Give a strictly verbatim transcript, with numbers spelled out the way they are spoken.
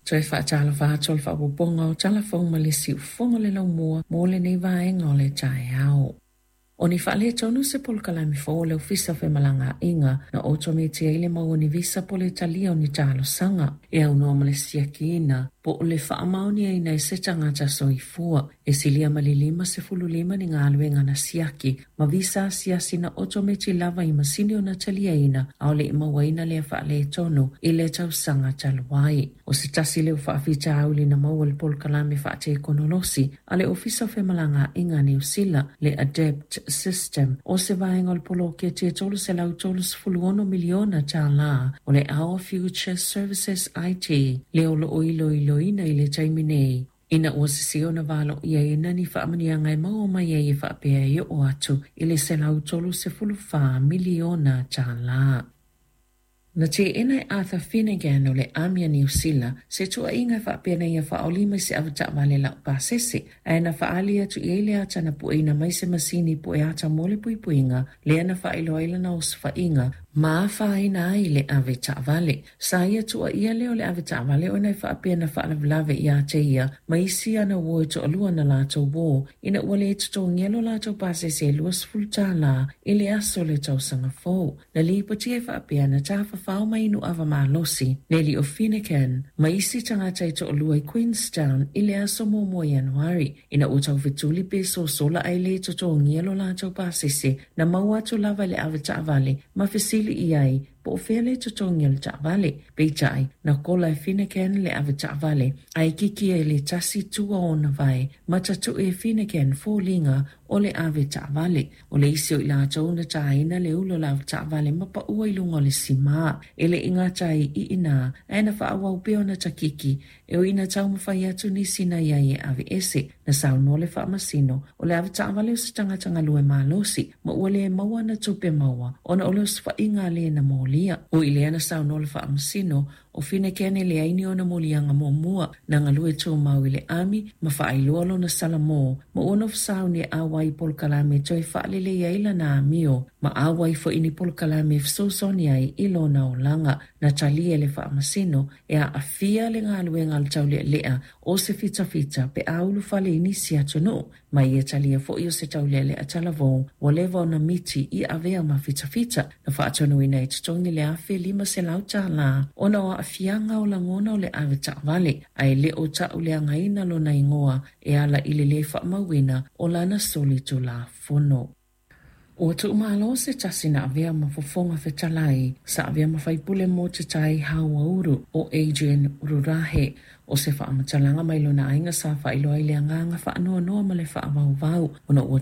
Toe faatalofa atu o le faaopoopoga o Tala Fou ma le Siufogo le laumua mo lenei vaega o le taeao. O ni faaletonu se polokalame fou o le Ofisa o Femalagaaiga na otometi ai le maua o ni visa po o le talia o ni talosaga e aunoa ma le siakiina po o le faamaoniaina e se tagata soifua. E silia ma le lima sefulu lima ni galuega na siaki ma visa asiasi na otometi lava i masini o na taliaina a o le i mauaina lea faaletonu i le tausaga talu ai. O se tasi lea o faafitauli na maua i le polokalame faatekonolosi a le Ofisa o Femalagaaiga a Niu Sila, le Adapt System, o se vaega o le poloketi e tolu selau tolu sefulu ono miliona tālā o le Our Future Services I T, lea o loo iloiloina i le taimi nei. Ina ua sese ona valoiaina ni faamanuiaga e maua mai ai e faapea e oo atu i le selau tolu sefulu fa miliona tālā. Na teena e Arthur Finnegan o le Army a Niu Sila se tuuaiga e faapea na ia faaolima i se avetaavale lau pasese, ae na faaali atu i ai le ata na pueina mai se masini pue ata mo le puipuiga lea na faailoa ai lana osofaiga ma afaina ai le avetaavale. Sa ia tuuaia lea o le avetaavale ona e faapea na faalavelave ia te ia ma isi ana uo e toalua na latou uo ina ua le totogia lo latou pasese e luasefulu tālā i le aso o le tausaga fou. Na lipotia e faapea na tafafao mai nuava malosi Nelly o Finnegan ma isi tagata e toalua i Queenstown i le aso muamua Ianuari ina ua taufetuli pe sosola ae le totogia lo latou pasese na maua atu lava i le avetaavale ma fesili i ai po o fea le totogi o le taavale. Peitai, na kola e Finnegan le avetaavale ae kiki ai le tasi tua ona vae ma tatue e Finnegan foliga o le avetaavale. O le isi o i latou na taina le ula o le avetaavale ma paua i luga o le simā. E le i gata ai i ina, ae na faaauau pea ona takiki e ui ina taumafai atu nisi na iai e aveese. Na saunoa le faamasino o le avetaavale o se tagata galue malosi ma ua le maua ana tupe maua ona o le osofaiga a le na molia. Ui i lea na saunoa le faamasino o Finnegan e leai ni ona moliaga muamua na galue tumau i le ami ma faailoa lona salamo ma ua nofo sauni e auai i polokalame toe faalelei ai lana amio ma auai foi ni polokalame e fesoasoani ai i lona olaga. Na talia e le faamasino e aafia le galuega a le taulealea o se fitafita pe a ulufale i nisi atunuu ma ia talia foi o se taulealea talavou ua leva ona miti i avea ma fitafita. Na faatonuina e totogi le afe lima selau tālā ona o aafiaga o lagona o le avetaavale ae le o tauleagaina lona igoa e ala i le lē faamauina o lana solitulafono. Ua tuumalo se tasi na avea ma fofoga fetalai sa avea ma faipule mo te tai hauauru o Adrian Rurahe. O se faamatalaga mai lona aiga sa faailoa ai le agaga faanoanoa ma le faavauvau ona ua